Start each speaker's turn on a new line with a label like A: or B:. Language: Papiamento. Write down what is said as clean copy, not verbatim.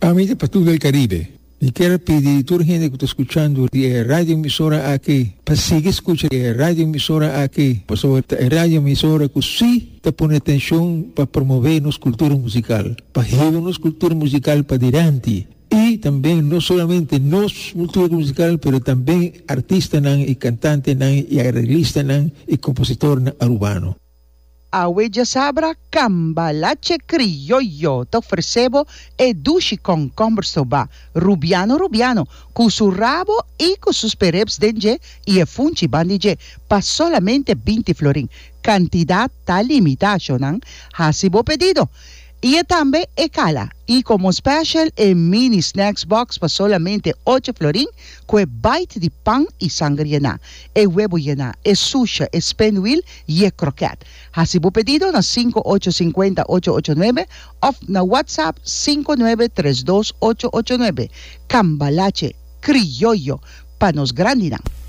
A: Ami ta Patul del Caribe. Mi kier a pidi tur hende ku ta skuchando di e radio emisora aki pa sigui skucha e radio emisora aki pasobra ta e radio emisora ku si ta pone atenshon pa promove nos kultura musikal, pa hiba nos kultura musikal padilanti i tambe no solamente nos kultura musikal pero tambe artistanan i kantantenan i areglistanan i kompositornan arubano.
B: Awe djasabra Cambalache Criollo ta ofrece bo e dushi concomber soba, rubiano rubiano, cu su rabo y cu su sperrips den dje y e funchi ban di dje, pa solamente binti florin. Cantidad ta limita, shownan. Haci bo pedido! Y e tambe e cala. Y como special e mini snacks box pa solamente ocho florin cu e bite di pan y sanger yená, e webo yená, e susha, e spinwiel y e kroket. Haci bo pedido na 5 8 50 8 8 nuebe of na WhatsApp 5 nuebe 3 2 8 8 nuebe. Cambalache Criollo pa nos grandinan.